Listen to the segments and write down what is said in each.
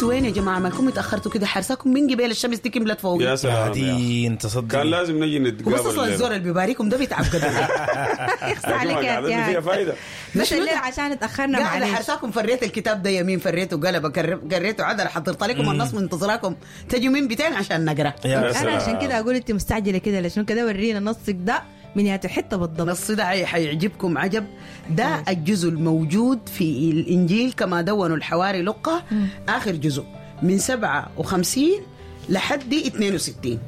انتوا وين يا جماعة؟ مالكم اتاخرتوا كده؟ حرساكم من قبل الشمس دي كملت فوق. يا سلام يا أخي. دي انت صدق كان لازم نجي نتقابل وبس اصلا الليلة. الزور اللي بيباريكم ده بيتعب قدر. يخص عليك لكن يا قعدتنا فيها ابتهاج. فايده. بس الليل عشان اتاخرنا قاعدة معلش. حرساكم، فريت الكتاب ده يمين، فريته قلبه، قريته عدل، حضرت لكم النص، منتظراكم تجوا من بيتين عشان نقرا. يا يا انا سلام. عشان كده اقول انت مستعجلة كده لشنو؟ كده ورينا نصك ده من ياتو حتة بالضبط. النص ده حيعجبكم عجب. ده الجزء الموجود في الإنجيل كما دونوا الحواري لقة، آخر جزء من 57 لحد 62.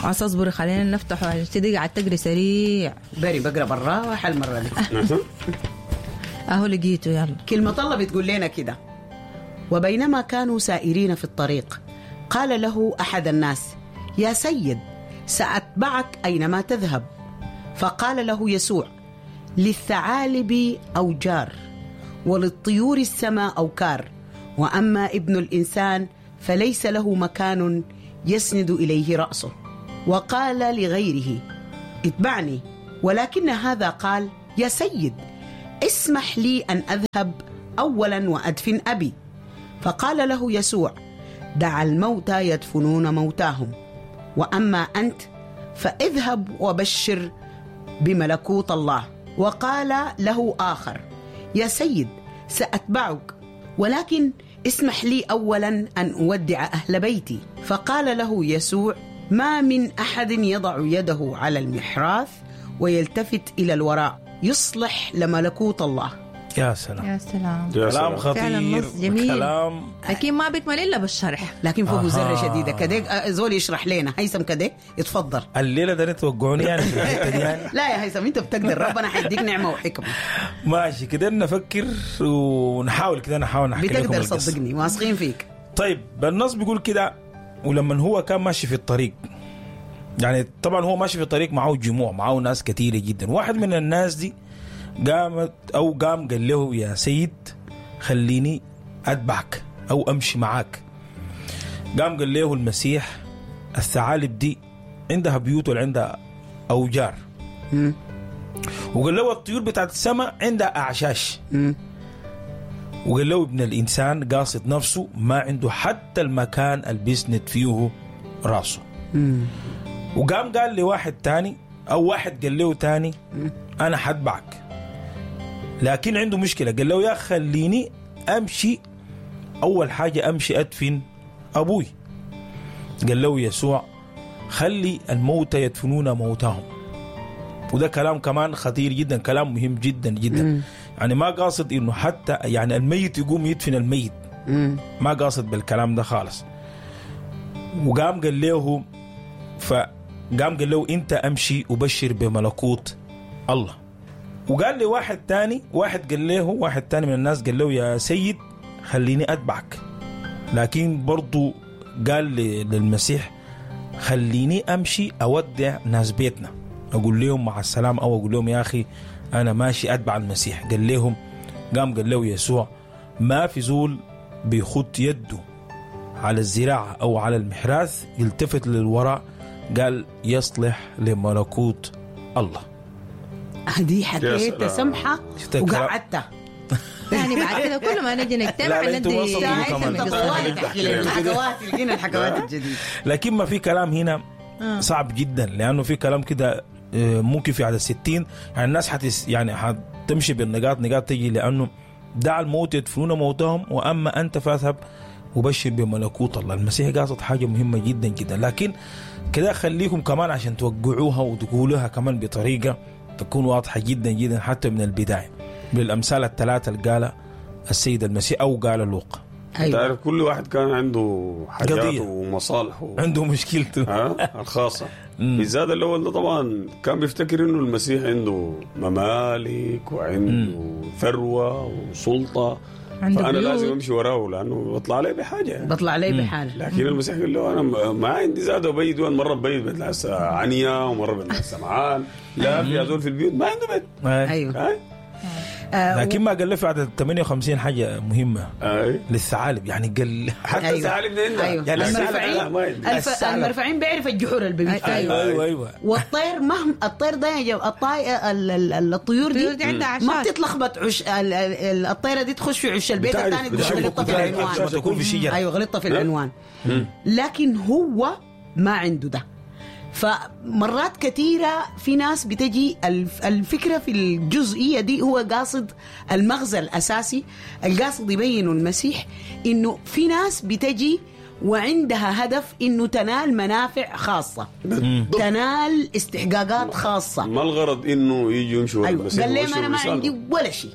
عسى اصبري خلينا نفتحه عشان تدي قاعد تقري سريع. بري بقرا بالراحة المرة دي. اهو لقيته، يلا. كلمة الله بتقول لنا كده: وبينما كانوا سائرين في الطريق قال له أحد الناس: يا سيد، سأتبعك أينما تذهب. فقال له يسوع: للثعالب أوجار وللطيور السماء أوكار، وأما ابن الإنسان فليس له مكان يسند إليه رأسه. وقال لغيره: اتبعني. ولكن هذا قال: يا سيد، اسمح لي أن أذهب أولا وأدفن أبي. فقال له يسوع: دع الموتى يدفنون موتاهم، وأما أنت فاذهب وبشر بملكوت الله. وقال له آخر: يا سيد، سأتبعك، ولكن اسمح لي أولا أن أودع أهل بيتي. فقال له يسوع: ما من أحد يضع يده على المحراث ويلتفت إلى الوراء يصلح لملكوت الله. يا سلام. يا سلام. يا كلام سلام. فعلا خطير. نص جميل. كلام لكن ما بيكمل الا بالشرح. لكن فوق أها. زرة شديدة كده. زول يشرح لنا هيثم كده، يتفضل. الليلة ده توقعوني يعني في الحتة دي يعني. لا يا هيثم، انت بتقدر، ربنا حيديك نعمة وحكمة. ماشي كده نفكر ونحاول كده، نحاول نحكي لكم بتقدر القصة. صدقني، واثقين فيك. طيب النص بيقول كده: ولما هو كان ماشي في الطريق، يعني طبعا هو ماشي في الطريق معه جموع، معه ناس كثيرة جدا. واحد من الناس دي قامت أو قام قال له: يا سيد، خليني أتبعك أو أمشي معاك. قام قال له المسيح: الثعالب دي عندها بيوت ولا عندها أوجار، وقال له الطيور بتاعت السماء عندها أعشاش، وقال له ابن الإنسان قاصد نفسه ما عنده حتى المكان اللي بيسند فيه راسه. وقام قال لواحد تاني، أو واحد قال له تاني: أنا حتبعك، لكن عنده مشكلة. قال له: يا خليني أمشي أول حاجة أمشي أدفن أبوي. قال له يسوع: خلي الموتى يدفنون موتاهم. وده كلام كمان خطير جدا، كلام مهم جدا جدا. يعني ما قاصد انه حتى يعني الميت يقوم يدفن الميت، ما قاصد بالكلام ده خالص. وقام قال له، فقام قال له: انت امشي وبشر بملكوت الله. وقال لي واحد تاني، واحد قال له، واحد تاني من الناس قال له: يا سيد، خليني اتبعك، لكن برضو قال للمسيح: خليني امشي اودع ناس بيتنا، اقول لهم مع السلامة، او اقول لهم يا اخي انا ماشي اتبع المسيح. قال لهم، قام قال له يسوع: ما في زول بيخط يده على الزراعة او على المحراث يلتفت للوراء، قال يصلح لملكوت الله. هذه حكيتها سلام. سمحة شفت الكلام؟ وقعدتها. يعني بعد كده كل ما نجي نجتمع لا، لا، انتوا ما ندي تصدقوا هيثم كمان. القصة. طوالي تحكي لنا الحكوات، لقينا الحكوات الجديدة. لكن ما في كلام هنا صعب جدا، لانه في كلام كده ممكن في عدد 60 يعني الناس حتس يعني حتمشي بالنقاط نقاط تجي، لانه دع الموت يدفنون موتهم واما انت فاذهب وبشر بملكوت الله. المسيح قاصد حاجة مهمة جدا جدا، لكن كده خليكم كمان عشان توقعوها وتقولوها كمان بطريقة تكون واضحة جدا جدا حتى من البداية، بالامثال الثلاثة اللي قالها السيد المسيح او قال لوقا. ايوه. تعرف كل واحد كان عنده حاجاته قضية. ومصالحه عنده مشكلته. ها الخاصة. بالذات الأول ده طبعا كان بيفتكر إنه المسيح عنده ممالك وعنده ثروة وسلطة، عنده فأنا بيوت. لازم أمشي وراه لأنه بطلع عليه بحاجة يعني. بطلع لي بحاله. لكن المسيح قال له: أنا ما عندي زاد وبيت وين، مرة بيت بيت عنيا، ومرة بيت سمعان، لا في زول في البيوت ما عنده بيت. ايوه. هاي. لكن ما قال له في عدد 58 حاجة مهمة اي للثعالب، يعني قال حتى الثعالب ده عندها. أيوة. يعني المرفعين ما عندي. الثعلب. المرفعين بيعرف الجحور اللي بيبيت فيها. أيوة. ايوه ايوه والطير مهما الطير ده يا جماعة، الطيور الطيور دي دي عندها ما عشاش. بتتلخبط، عش الطيرة دي تخش في عش البيت بتعرف- الثاني تقول بتعرف- غلطت في بتعرف العنوان. لما تكون في شجرة. ايوه غلطت في العنوان، لكن هو ما عنده ده. فمرات كثيرة في ناس بتجي الفكرة في الجزئية دي، هو قاصد المغزى الأساسي القاصد يبينه المسيح، إنه في ناس بتجي وعندها هدف إنه تنال منافع خاصة، تنال استحقاقات خاصة. ما الغرض انه يجوا يمشوا ورا أيوة. المسيح قال لهم ويبشروا أنا ما برسالته. عندي ولا شيء،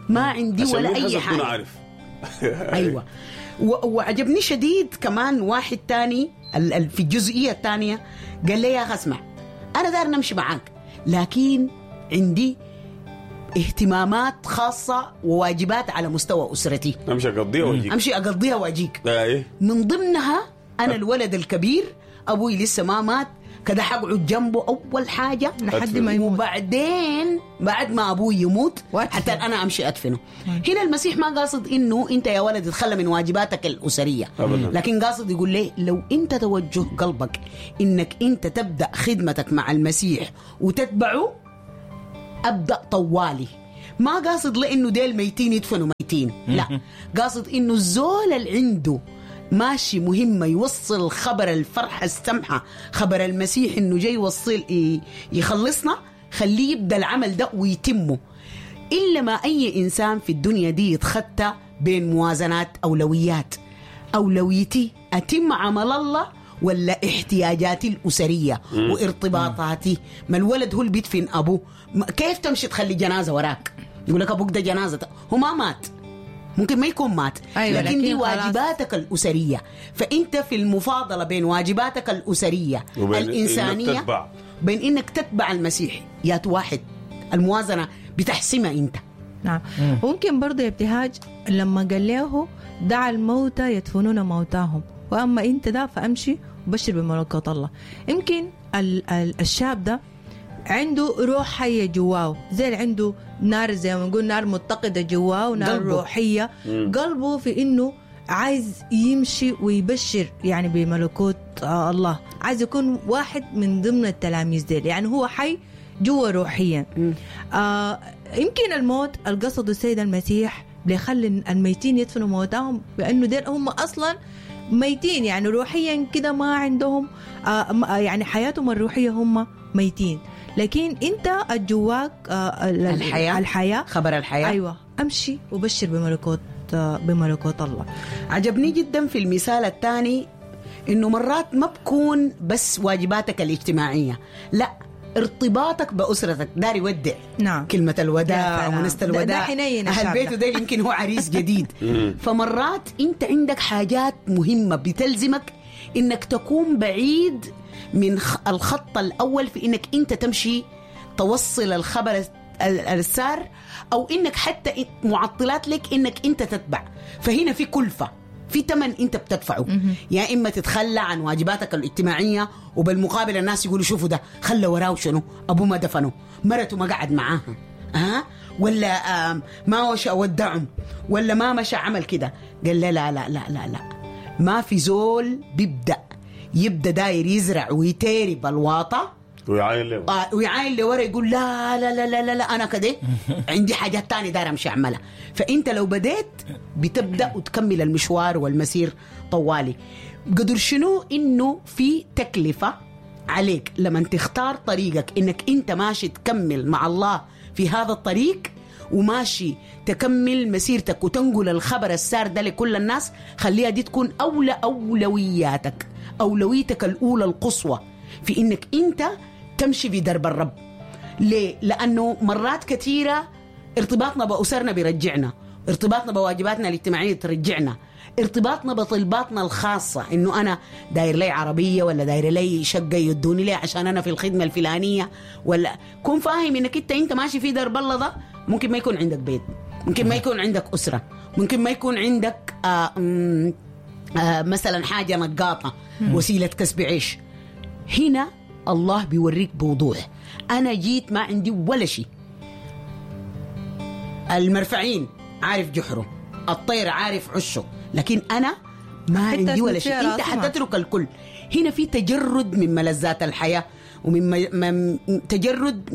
ما عندي عشان ولا مين أي حسب تكون حاجة. عارف. ايوه. وعجبني شديد كمان واحد تاني في الجزئية الثانية قال لي يا اخي اسمع، انا داير نمشي معاك، لكن عندي اهتمامات خاصة وواجبات على مستوى اسرتي، امشي اقضيها واجيك. امشي اقضيها واجيك. اي من ضمنها انا الولد الكبير، ابوي لسه ما مات، كده حقعد جنبه اول حاجة لحد ما يموت. وبعدين بعد ما ابوي يموت وأدفنه. حتى انا امشي ادفنه. هنا المسيح ما قاصد انه انت يا ولد تتخلى من واجباتك الاسرية، أبداً. لكن قاصد يقول ليه لو انت توجه قلبك انك انت تبدا خدمتك مع المسيح وتتبعه، ابدا طوالي. ما قاصد لانه ديل ميتين يدفنوا ميتين، لا، قاصد انه الزول اللي عنده ماشي مهمة يوصل خبر الفرحة السمحة، خبر المسيح انه جاي يوصل يخلصنا، خليه يبدا العمل ده ويتمه. الا ما اي انسان في الدنيا دي يتخطى بين موازنات اولويات، اولويتي اتم عمل الله ولا احتياجاتي الاسرية وارتباطاتي. ما الولد هو اللي بيدفن ابوه، كيف تمشي تخلي جنازه وراك؟ يقول لك ابوك ده جنازه، هو ما مات، ممكن ما يكون مات، أيوة، لكن دي لكن خلاص. واجباتك الأسرية. فأنت في المفاضلة بين واجباتك الأسرية وبين الإنسانية إنك تتبع. بين إنك تتبع المسيح، يا واحد الموازنة بتحسمها أنت. نعم. ممكن برضه يا ابتهاج لما قال له دع الموتى يدفنون موتاهم واما انت ده فامشي وبشر بملكوت الله. يمكن الشاب ده عنده روح حية جواه، زي اللي عنده نار، زي ما نقول نار متقدة جواه، نار قلبه. روحية، قلبه في انه عايز يمشي ويبشر يعني بملكوت الله، عايز يكون واحد من ضمن التلاميذ ديل، يعني هو حي جوا روحيا. يمكن الموت القصد السيد المسيح بيخلي الميتين يدفنوا موتاهم، بانه ديل هم اصلا ميتين، يعني روحيا كده ما عندهم يعني حياتهم الروحية هم ميتين، لكن انت جواك الحياة. الحياة خبر الحياة. ايوه، امشي وبشر بملكوت الله. عجبني جدا في المثال الثاني انه مرات ما بكون بس واجباتك الاجتماعية، لا، ارتباطك باسرتك. داري يودع. نعم. كلمة يا الوداع سلام. ونست ده الوداع. حنين اهل الشاب بيته ده. ده يمكن هو عريس جديد. فمرات انت عندك حاجات مهمة بتلزمك انك تكون بعيد من الخط الاول في انك انت تمشي توصل الخبر السار، او انك حتى معطلات لك انك انت تتبع. فهنا في كلفه، في تمن انت بتدفعه، يا اما تتخلى عن واجباتك الاجتماعية، وبالمقابل الناس يقولوا شوفوا ده خلى وراه شنو، ابوه ما دفنه، مرته ما قعد معاها، ها، ولا ما وش اودعهم، ولا ما مشى عمل كده. قال لا لا لا لا لا لا، ما في زول بيبدا يبدا داير يزرع ويتارب الواطه ويعاين له. ويعاين لورا يقول لا لا لا لا لا, لا انا كده عندي حاجات تانية داير امشي اعملها. فانت لو بديت بتبدا وتكمل المشوار والمسير طوالي. قدر شنو انه في تكلفة عليك لما تختار طريقك، انك انت ماشي تكمل مع الله في هذا الطريق، وماشي تكمل مسيرتك وتنقل الخبر السار ده لكل الناس. خليها دي تكون أولى أولوياتك، أولويتك الأولى القصوى في إنك أنت تمشي في درب الرب. ليه؟ لأنه مرات كثيرة ارتباطنا بأسرنا بيرجعنا، ارتباطنا بواجباتنا الاجتماعية ترجعنا، ارتباطنا بطلباتنا الخاصة، إنه أنا داير لي عربية ولا داير لي شقة يدوني لي عشان أنا في الخدمة الفلانية، ولا كون فاهم إنك أنت ماشي في درب الله ده، ممكن ما يكون عندك بيت، ممكن ما يكون عندك أسرة، ممكن ما يكون عندك مثلا حاجة نقاطة، وسيلة كسب عيش. هنا الله بيوريك بوضوح، أنا جيت ما عندي ولا شيء. المرفعين عارف جحره، الطير عارف عشه، لكن انا ما حتى عندي ولا أسند شيء. فيها انت راسي ما. حتترك الكل. هنا في تجرد من ملذات الحياة ومن تجرد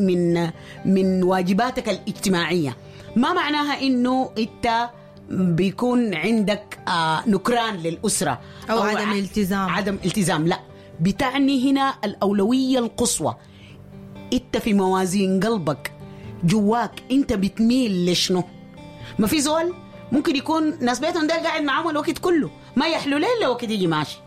من واجباتك الاجتماعية. ما معناها انه انت بيكون عندك نكران للاسرة أو عدم التزام. عدم التزام، لا، بتعني هنا الاولوية القصوى. انت في موازين قلبك جواك انت بتميل لشنو؟ ما في زول ممكن يكون ناس بيتهم ده قاعد معاهم الوقت كله، ما يحلو ليه الا وقت يجي ماشي.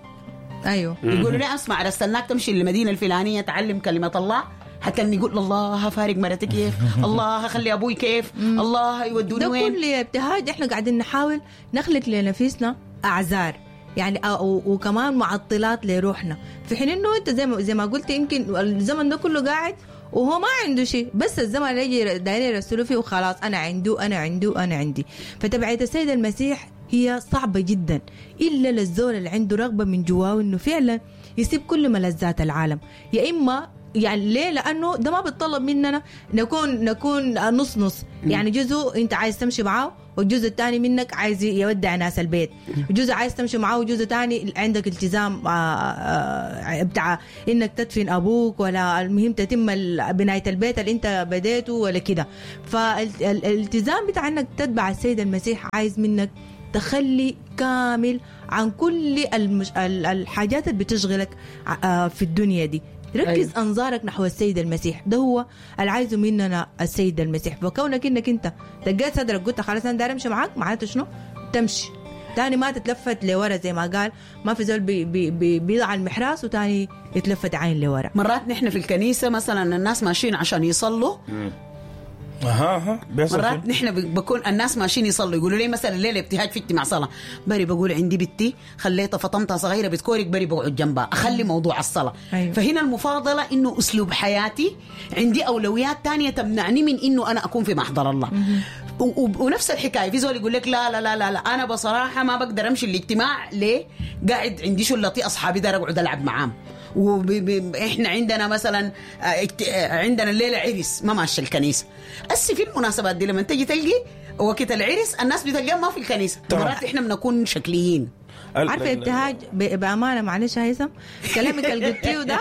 ايوه يقولوا لي اسمع، رسلناك تمشي للمدينة الفلانية تعلم كلمة الله، حتى اني يقول الله فارق مرتي كيف، الله خلي ابوي كيف، الله يودوني ده وين. كل ابتهاج احنا قاعدين نحاول نخلق لنفسنا اعذار يعني، وكمان معطلات لروحنا، في حين انه انت زي ما قلت يمكن الزمن ده كله قاعد وهو ما عنده شيء، بس الزمن اللي يجي دايرين يرسلوا فيه وخلاص، انا عنده انا عنده انا عندي. فتبعية السيد المسيح هي صعبة جدا إلا للزول اللي عنده رغبة من جواه إنه فعلا يسيب كل ملذات العالم. يا إما يعني ليه؟ لأنه ده ما بيتطلب مننا نكون نص نص، يعني جزء أنت عايز تمشي معاه والجزء الثاني منك عايز يودع ناس البيت، جزء عايز تمشي معاه وجزء ثاني عندك التزام بتاع انك تدفن ابوك، ولا المهم تتم بناية البيت اللي انت بديته ولا كده. فالالتزام بتاع انك تتبع السيد المسيح عايز منك تخلي كامل عن كل الحاجات اللي بتشغلك في الدنيا دي. ركز أيوه. أنظارك نحو السيد المسيح، ده هو اللي عايزه مننا السيد المسيح. فكونك انك انت دقيت صدرك قلت خلاص انا داير امشي معاك، معناته شنو؟ تمشي تاني، ما تتلفت لورا زي ما قال، ما في زول بي بي بي بيضع المحراس وتاني يتلفت عين لورا. مرات نحن في الكنيسة مثلا الناس ماشيين عشان يصلوا، اها بيحصل مرات نحن بكون الناس ماشيين يصلوا يقولوا لي مثلا الليلة ابتهاج في اجتماع صلاة، بري بقول عندي بنتي خليتها فطمتها صغيرة بتكورك، بري بقعد جنبها اخلي موضوع الصلاة. أيوة. فهنا المفاضلة انه اسلوب حياتي عندي اولويات تانية تمنعني من انه انا اكون في محضر الله. ونفس الحكاية في زول يقول لك لا لا لا لا, لا انا بصراحة ما بقدر امشي الاجتماع، ليه؟ قاعد عندي شلتي اصحابي دار اقعد العب معاهم، واحنا عندنا مثلا عندنا الليلة عرس ما ماشي الكنيسة. هسه في المناسبات دي لما تجي تلقي وقت العرس الناس بتلقاها ما في الكنيسة. مرات احنا بنكون شكليين. عارفه ابتهاج بامانه، معلش هيثم، كلامك اللي قلتيه ده،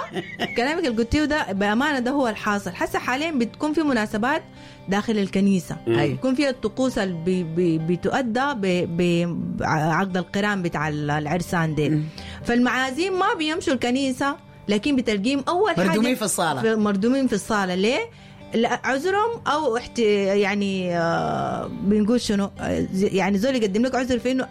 كلامك اللي قلتيه ده بامانه ده هو الحاصل. حسه حاليا بتكون في مناسبات داخل الكنيسة، بيكون فيها الطقوس اللي بتؤدى بعقد القران بتاع العرسان ديل. فالمعازيم ما بيمشوا الكنيسة، لكن بتلقيهم اول حاجة مردومين في الصاله، مردومين في الصاله. ليه؟ عذرهم او يعني بنقول شنو يعني، زول يقدم لك عذر في انه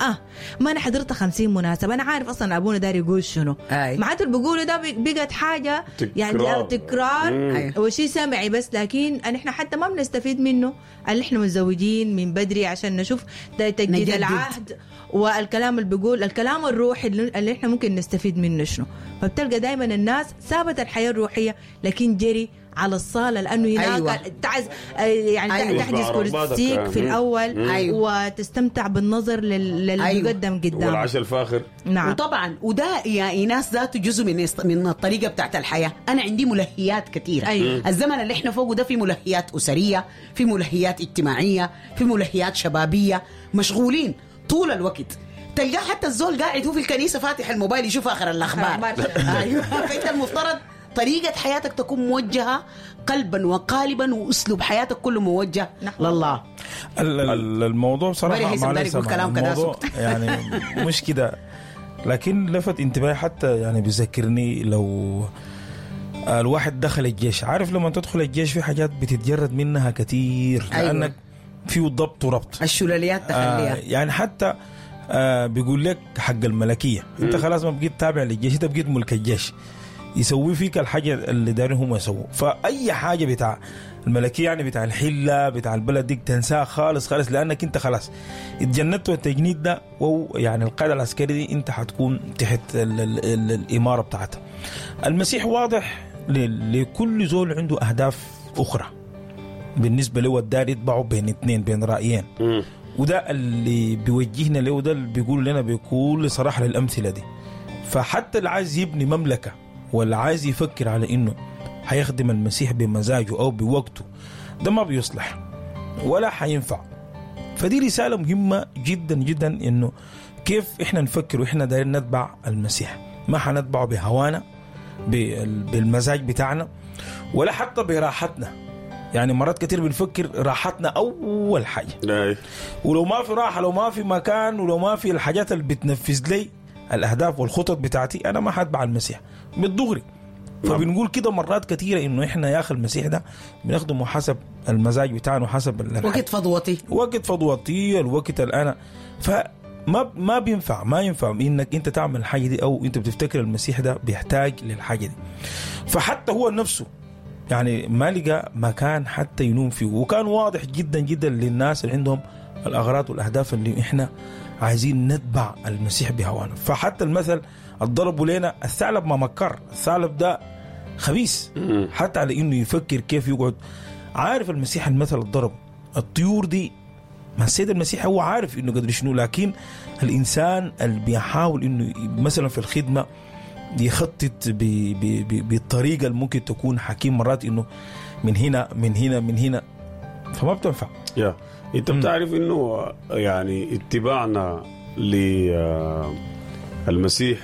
ما انا حضرت 50 مناسبة، انا عارف اصلا ابونا داير يقول شنو. معناته اللي بيقوله ده بقت حاجة يعني تكرار وشيء سمعي بس، لكن احنا حتى ما بنستفيد منه. اللي احنا متزوجين من بدري عشان نشوف تجديد العهد والكلام اللي بيقول، الكلام الروحي اللي احنا ممكن نستفيد منه شنو. فبتلقى دائما الناس سابت الحياة الروحية لكن جري على الصالة، لأنه هناك أيوة. تعز يعني أيوة. تحجز كرسيك في الأول أيوة. وتستمتع بالنظر للي أيوة. بيقدم قدام، والعشاء الفاخر. نعم. وطبعا وده يا إيناس ذاته جزء من الطريقة بتاعت الحياة. أنا عندي ملهيات كثيرة. أيوة. الزمن اللي احنا فوقه ده في ملهيات أسرية، في ملهيات اجتماعية، في ملهيات شبابية، مشغولين طول الوقت. تلقاه حتى الزول قاعد هو في الكنيسة فاتح الموبايل يشوف آخر الأخبار. أيوة. فأنت المفترض طريقة حياتك تكون موجهة قلبا وقالبا، وأسلوب حياتك كله موجه لله. الموضوع بصراحة الموضوع يعني مش كده، لكن لفت انتباهي حتى يعني بيذكرني لو الواحد دخل الجيش. عارف لما تدخل الجيش في حاجات بتتجرد منها كتير. أيوة. لأنك فيه ضبط وربط، الشلاليات تخليها يعني حتى بيقول لك حق الملكية. انت خلاص ما بقيت تابع للجيش، انت بقيت ملك الجيش، يسوي فيك الحاجة اللي دارين هم يسووا. فأي حاجة بتاع الملكية يعني بتاع الحلة بتاع البلد ديك تنساها خالص خالص، لأنك انت خلاص اتجندت، والتجنيد ده يعني القاعدة العسكرية دي انت حتكون تحت ال الإمارة بتاعتها. المسيح واضح لكل زول عنده أهداف أخرى بالنسبة له، الدار يتبعه بين اثنين، بين رأيين. وده اللي بيوجهنا له، وده اللي بيقول لنا بكل صراحة للأمثلة دي. فحتى اللي عايز يبني مملكة ولا عايز يفكر على انه هيخدم المسيح بمزاجه او بوقته، ده ما بيصلح ولا حينفع. فدي رسالة مهمة جدا جدا، انه كيف احنا نفكر واحنا دايرين نتبع المسيح. ما حنتبعه بهوانا، بالمزاج بتاعنا، ولا حتى براحتنا. يعني مرات كتير بنفكر راحتنا اول حاجة، ولو ما في راحة، لو ما في مكان، ولو ما في الحاجات اللي بتنفذ لي الاهداف والخطط بتاعتي، انا ما حتبع المسيح بالدغري. فبنقول كده مرات كثيرة انه احنا يا اخي المسيح ده بنخدمه حسب المزاج بتاعنا وحسب وقت فضوتي، وقت فضوتي، الوقت الان. فما ما بينفع، ما ينفع انك انت تعمل الحاجة دي، او انت بتفتكر المسيح ده بيحتاج للحاجة دي. فحتى هو نفسه يعني ما لقى مكان حتى ينوم فيه، وكان واضح جدا جدا للناس اللي عندهم الاغراض والاهداف اللي احنا عايزين نتبع المسيح بهوانا. فحتى المثل الضربوا لنا الثعلب ما مكر، الثعلب ده خبيث حتى على انه يفكر كيف يقعد. عارف المسيح المثل الضرب الطيور دي، ما السيد المسيح هو عارف انه قدر شنو، لكن الانسان اللي بيحاول انه مثلا في الخدمة يخطط بالطريقة اللي ممكن تكون حكيم مرات، انه من هنا من هنا من هنا، فما بتنفع. يا انت بتعرف انه يعني اتباعنا للمسيح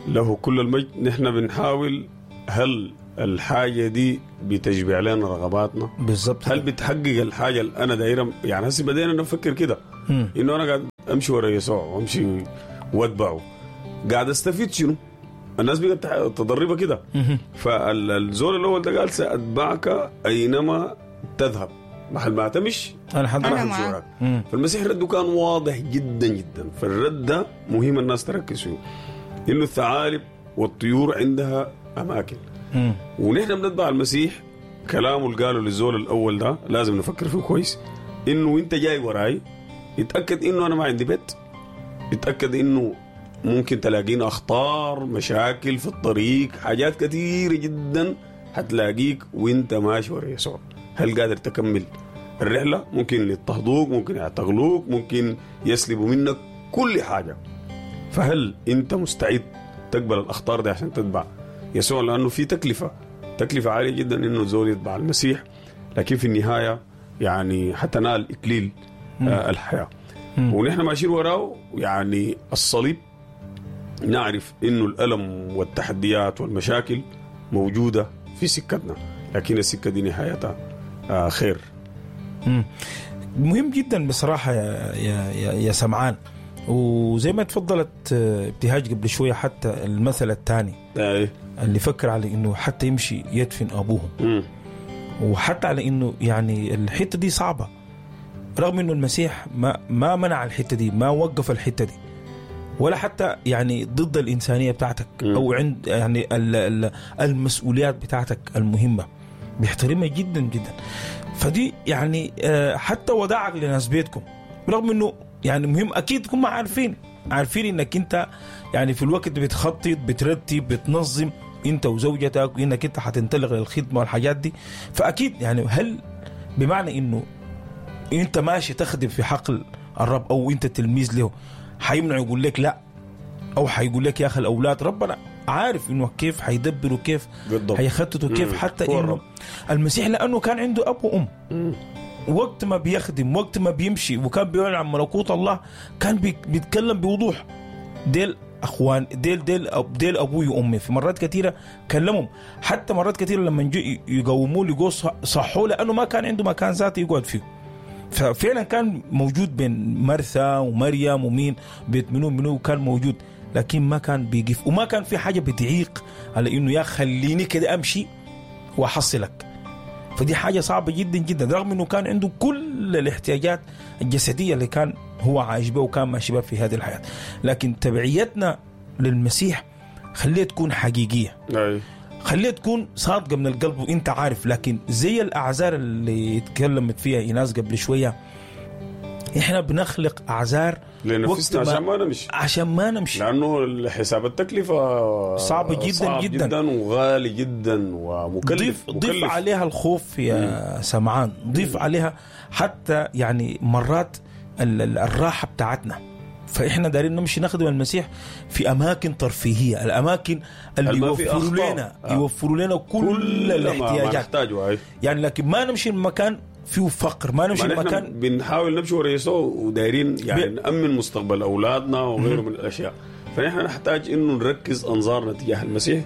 له كل المجد، نحن بنحاول هل الحاجة دي بتشبع لنا رغباتنا بالضبط؟ هل بتحقق الحاجة اللي أنا دايرة؟ يعني هسه بدينا نفكر كده إنه أنا قاعد أمشي ورا يسوع وأمشي وأتبعه، قاعد أستفيد شنو؟ الناس بقت تضربها كده. فالزول الأول ده قال سأتبعك أينما تذهب، محل ما تمشي أنا همشي وراك. فالمسيح رده كان واضح جدا جدا. فالرد ده مهم الناس تركز فيه، إنه الثعالب والطيور عندها أماكن، ونحن بنتبع المسيح كلامه اللي قاله للزول الأول ده لازم نفكر فيه كويس، إنه أنت جاي وراي اتأكد إنه أنا ما عندي بيت، اتأكد إنه ممكن تلاقينا أخطار، مشاكل في الطريق، حاجات كثيرة جدا هتلاقيك وانت ماشي ورا يسوع. هل قادر تكمل الرحلة؟ ممكن يضطهدوك، ممكن يعتقلوك، ممكن يسلبوا منك كل حاجة. فهل انت مستعد تقبل الأخطار دي عشان تتبع يسوع؟ لأنه في تكلفة، تكلفة عالية جدا إنه الزول يتبع المسيح، لكن في النهاية يعني حتنال إكليل الحياة. ونحن ماشيين وراه يعني الصليب، نعرف إنه الألم والتحديات والمشاكل موجودة في سكتنا، لكن السكة دي نهايتها خير. مهم جدا بصراحة يا, يا, يا, يا سمعان. وزي ما تفضلت ابتهاج قبل شوية، حتى المثل الثاني اللي فكر على إنه حتى يمشي يدفن أبوه، وحتى على إنه يعني الحتة دي صعبة، رغم إنه المسيح ما منع الحتة دي، ما وقف الحتة دي، ولا حتى يعني ضد الإنسانية بتاعتك أو عند يعني المسؤوليات بتاعتك المهمة، بيحترمها جدا جدا. فدي يعني حتى وداعك لناس بيتكم، رغم إنه يعني مهم أكيد تكون عارفين إنك أنت يعني في الوقت بتخطط، بترتب، بتنظم أنت وزوجتك، وإنك أنت حتنطلق للخدمة والحاجات دي. فأكيد يعني هل بمعنى إنه أنت ماشي تخدم في حقل الرب أو أنت تلميذ له، حيمنع يقول لك لا، أو حيقول لك يا أخي الأولاد؟ ربنا عارف إنه كيف حيدبروا، كيف حيخططوا، كيف حتى إنه المسيح لأنه كان عنده أب وأم، وقت ما بيخدم، وقت ما بيمشي، وكان بيعلن عن ملكوت الله، كان بيتكلم بوضوح، ديل أخوان، ديل ديل ديل أبوي وأمي. في مرات كثيرة كلمهم، حتى مرات كثيرة لما يقوموا لي صحوا، لأنه ما كان عنده مكان ذاتي يقعد فيه. ففعلا كان موجود بين مرثا ومريم ومين بيت منو كان موجود، لكن ما كان بيقف، وما كان في حاجة بتعيق على إنه يا خليني كده أمشي وأحصلك. فدي حاجة صعبة جدا جدا، رغم إنه كان عنده كل الاحتياجات الجسدية اللي كان هو عايش بها وكان ماشي بها في هذه الحياة، لكن تبعيتنا للمسيح خليها تكون حقيقية، خليها تكون صادقة من القلب وانت عارف. لكن زي الأعذار اللي اتكلمت فيها إيناس قبل شوية، احنا بنخلق أعذار لنفسنا عشان ما نمشي، عشان ما نمشي، لأنه حساب التكلفة صعب جدا، صعب جدا جدا وغالي جدا ومكلف. ضيف عليها الخوف يا سمعان، ضيف عليها حتى يعني مرات الراحة بتاعتنا. فإحنا دارين نمشي نخدم المسيح في أماكن ترفيهية، الأماكن اللي يوفروا لنا يوفروا لنا كل الاحتياجات يعني، لكن ما نمشي المكان فيه فقر، ما نمشي ما نحن لمكان بنحاول نمشي ورا يسوع ودايرين يعني نأمن مستقبل أولادنا وغيره من الأشياء. فنحن نحتاج إنه نركز أنظارنا تجاه المسيح،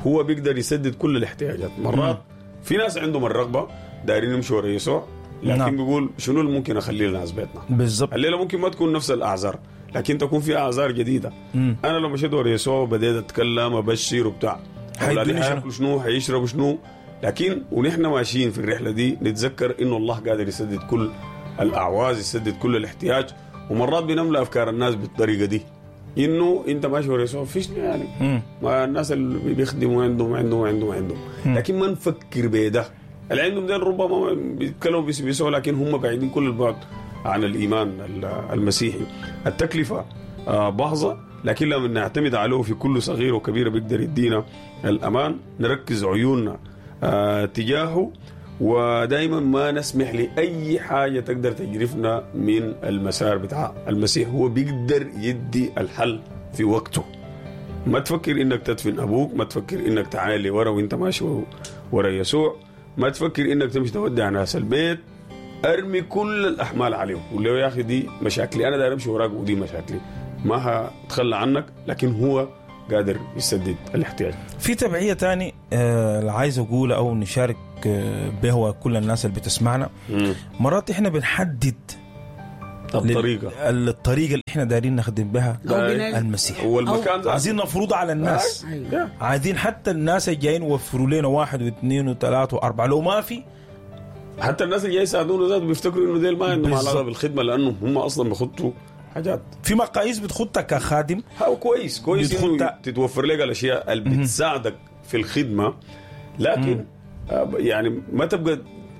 هو بيقدر يسدد كل الاحتياجات. مرات في ناس عندهم الرغبة دايرين يمشوا ورا يسوع، لكن نعم. بيقول شنو اللي ممكن أخليه لناس بيتنا. بالضبط. الليلة ممكن ما تكون نفس الأعذار، لكن تكون في أعذار جديدة. أنا لو مشيت ورا يسوع وبديت أتكلم أبشر وبتاع، أولادي حيدوني شنو؟ حياكلوا شنو، حيشربوا شنو. لكن ونحن ماشيين في الرحلة دي نتذكر إنه الله قادر يسدد كل الأعواز، يسدد كل الاحتياج. ومرات بنملأ أفكار الناس بالطريقة دي، إنه أنت ماشي ورا يسوع فيش يعني ما الناس اللي بيخدموا عندهم عندهم عندهم عندهم، لكن ما نفكر بده. اللي عندهم ده ربما بيتكلموا بيسوع، لكن هم بعيدين كل البعد عن الإيمان المسيحي. التكلفة باهظة، لكن لما نعتمد عليه في كل صغير وكبير بيقدر يدينا الأمان. نركز عيوننا تجاهه، ودائما ما نسمح لأي حاجة تقدر تجرفنا من المسار بتاع المسيح. هو بيقدر يدي الحل في وقته. ما تفكر إنك تدفن أبوك، ما تفكر إنك تعالي ورا وإنت ماشي ورا يسوع، ما تفكر إنك تمشي تودع ناس البيت. أرمي كل الأحمال عليهم، قول له يا أخي دي مشاكلي، أنا داير أمشي وراك ودي مشاكلي، ما هتخلى عنك، لكن هو قادر يسدد الاحتياج. في تبعية تاني عايز أقول أو نشارك به كل الناس اللي بتسمعنا. مرات إحنا بنحدد الطريقة الطريقة اللي إحنا دايرين نخدم بها المسيح، والمكان عايزين نفرض على الناس. أيوة. عايزين حتى الناس الجايين يوفروا لنا 1 و2 و3 و4، لو ما في حتى الناس اللي جاي يساعدونا ذات بيفتكروا إنه ديل ما عندهم علاقة بالخدمة، لأنه هم أصلا بيخطوا حاجات في مقاييس بتخطها كخادم. هو كويس إنه تتوفر لك الأشياء اللي بتساعدك في الخدمة، لكن يعني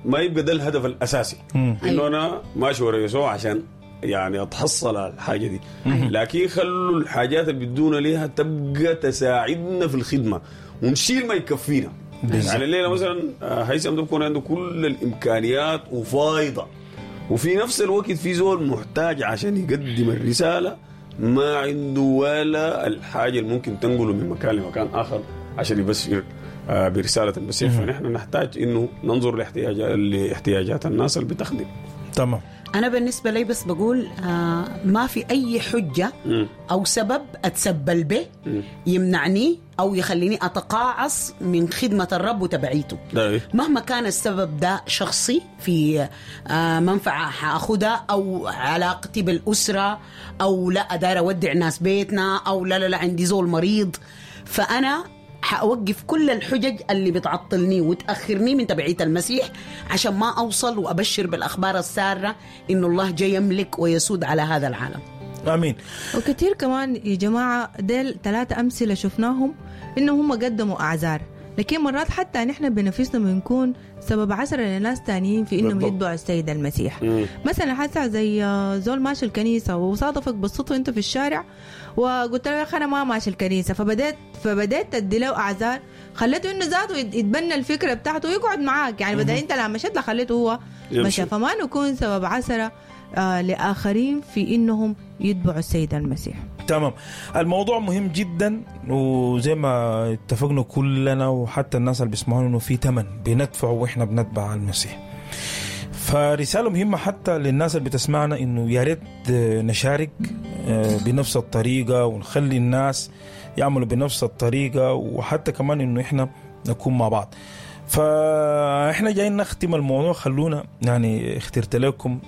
ما يبقى ده الهدف الأساسي، إنه أنا ماشي ورا يسوع عشان يعني أتحصل على الحاجة دي. لكن خلوا الحاجات اللي بدونا ليها تبقى تساعدنا في الخدمة ونشيل ما يكفينا. يعني الليلة مثلا هيثم ده بيكون عنده كل الإمكانيات وفايضة، وفي نفس الوقت في زول محتاج عشان يقدم الرسالة ما عنده ولا الحاجة اللي ممكن تنقله من مكان لمكان آخر عشان يبشر برسالة المسيح. فنحن نحتاج إنه ننظر لاحتياجات الناس اللي بتخدم. تمام. أنا بالنسبة لي بس بقول ما في أي حجة أو سبب أتسبل به يمنعني أو يخليني أتقاعس من خدمة الرب وتبعيته. مهما كان السبب ده شخصي في منفعة حأخدها، أو علاقتي بالأسرة، أو لا أدار أودع ناس بيتنا، أو لا لا لا عندي زول مريض، فأنا حأوقف كل الحجج اللي بتعطلني وتأخرني من تبعية المسيح عشان ما أوصل وأبشر بالأخبار السارة إنه الله جاي يملك ويسود على هذا العالم. آمين. وكثير كمان يا جماعة ديل 3 أمثلة شفناهم إنهم هم قدموا أعذار، لكن مرات حتى نحن بنفسنا بنكون سبب عسرة لناس تانيين في إنهم يتبعوا السيد المسيح. مثلا حتى زي زول ماشي الكنيسة وصادفك بالصدفة أنت في الشارع وقلت له يا أخي أنا ما ماشي الكنيسة، فبدأت تدي له أعذار، خليته إنه ذاته يتبنى الفكرة بتاعته ويقعد معاك، يعني بدأ أنت لما مشيت خليته هو مشى. فما نكون سبب عسرة لآخرين في إنهم يتبعوا السيد المسيح. تمام. الموضوع مهم جدا، وزي ما اتفقنا كلنا وحتى الناس اللي بيسمعونا انه في ثمن بندفعه واحنا بنتبع المسيح. فرسالة مهمة حتى للناس اللي بتسمعنا انه يا ريت نشارك بنفس الطريقة ونخلي الناس يعملوا بنفس الطريقة، وحتى كمان انه احنا نكون مع بعض. فاحنا جايين نختم الموضوع. خلونا يعني اخترت لكم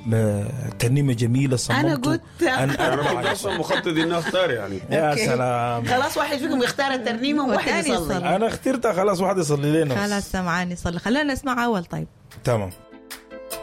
ترنيمه جميله صممته. انا قلت انا اصلا مخطط اني اختار يعني. يا سلام. خلاص واحد فيكم يختار الترنيمه وواحد يصلي. انا اخترتها خلاص، واحد يصلي لنا. خلاص سمعاني يصلي. خلينا نسمع اول. طيب تمام.